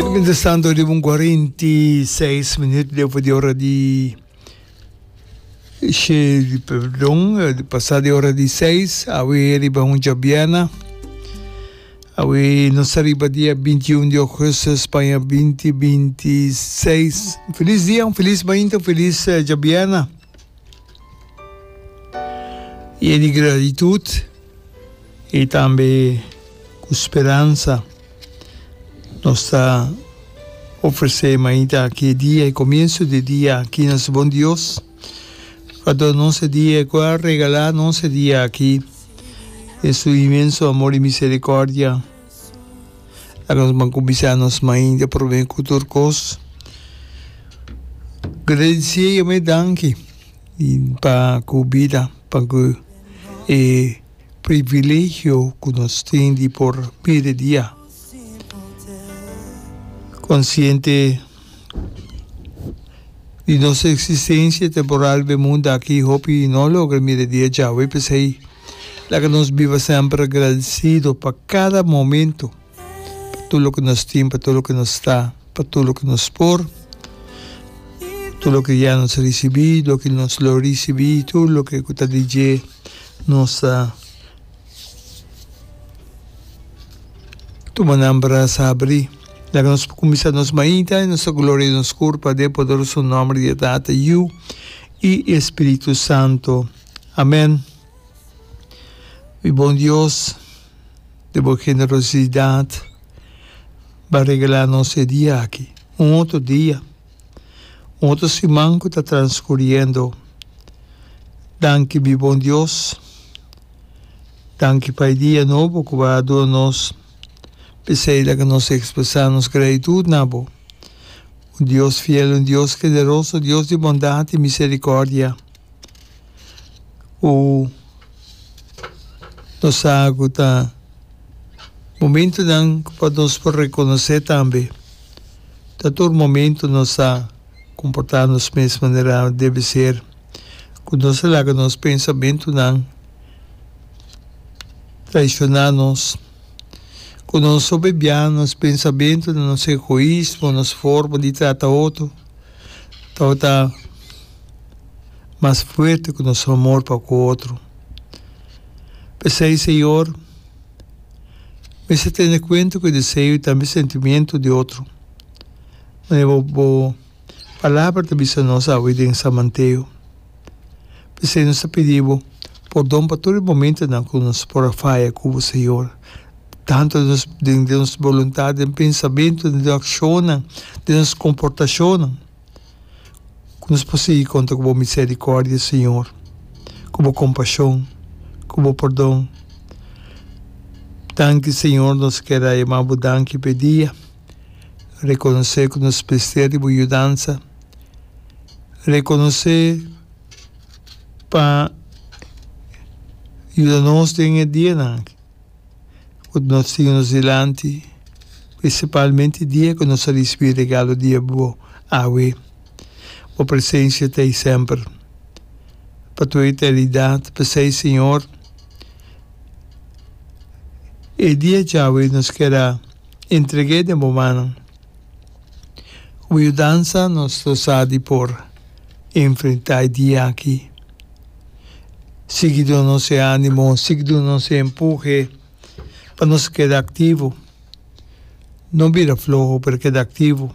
Mientras tanto riba un 46 minuut despues di ora di she perdon pasa di ora di seis awe riba un djabièrnè awe nos ta riba dia 21 di augustus paña 2026 un felis dia un felis mainta un felis djabièrnè yen di gratitud y tambe cu speransa. Nos ta ofresé mainta aki e dia, e komienso di e dia aki nos bon Dios ku a duna nos e dia, ku a regalá nos e dia aki den su inmenso amor i miserikòrdia. Laga nos ban kuminsá nos mainta promé ku tur kos. Gradisié i yam'é danki pa ku bida, pa ku e. Privilegio ku nos tin di por mira e dia. Konsiente di nos eksistensia temporal riba e mundu aki, hopi no logra mira e dia djawe. P'esei, laga nos biba semper agradesido pa kada momento, pa tur loke nos tin, pa tur loke nos ta, pa tur loke nos por, tur loke ya nos a risibí, loke nos lo risibí, tur loke ku ta di dje. Nos ta tuma nan brasa habrí. Laga nos por kuminsá nos mainta i nos ta gloria nos kurpa den e poderoso nòmber di e Tata, Yu i e Spiritu Santu. Amèn. Mi bon Dios, den bo generosidat, bo a regalá nos e dia aki, un otro dia. Un otro siman ku ta transkuriendo. Danki mi bon Dios. Danki pa e dia nobo ku bo a duna nos. P'esei laga nos ekspresá nos gratitut na bo. Un Dios fiel, un Dios generoso, Dios di bondat i miserikòrdia. Ku nos sa ku ta momentunan pa nos por rekonosé tambe. Ta tur momento nos ta comporta nos mes manera debe ser, cu nos ta laga nos pensamentonan traiciona nos, cu nos sobebia nos pensamentonan, nos egoismo, nos forma di trata otro tabata mas fuerte cu nos amor pa cu otro. P'esey, Señor. Mester tene kuenta ku e deseo i tambe sentimiento di otro. Manera bo bo Palabra ta bisa nos awe den San Mateo. P'esei nos ta pidi bo pordon pa tur e momentonan ku nos por a faya ku bo, Señor, tantu den nos den nos boluntat, den pensamentu, den nos akshonnan, den nos komportashonnan. Ku nos por sigui konta ku bo miserikòrdia, Señor, ku bo kompashon, ku bo pordon. Danki, Señor, nos kier a yama bo danki p'e dia, rekonosé ku nos mester di bo yudansa, rekonosé pa yuda nos den e dianan aki. Ku nos tin nos dilanti, prinsipalmente dia ku nos a risibí regalo di bo awe. Bo presensia ta ei semper, pa tur eternidat. P'esei, Señor, e dia djawe nos kier a entreg'é den bo mannan. Ku bo yudansa nos lo sa di por enfrentá e dia aki. Sigui duna nos e ánimo, sigui duna nos e empuhe pa nos keda aktivo. No bira floho, pero keda aktivo.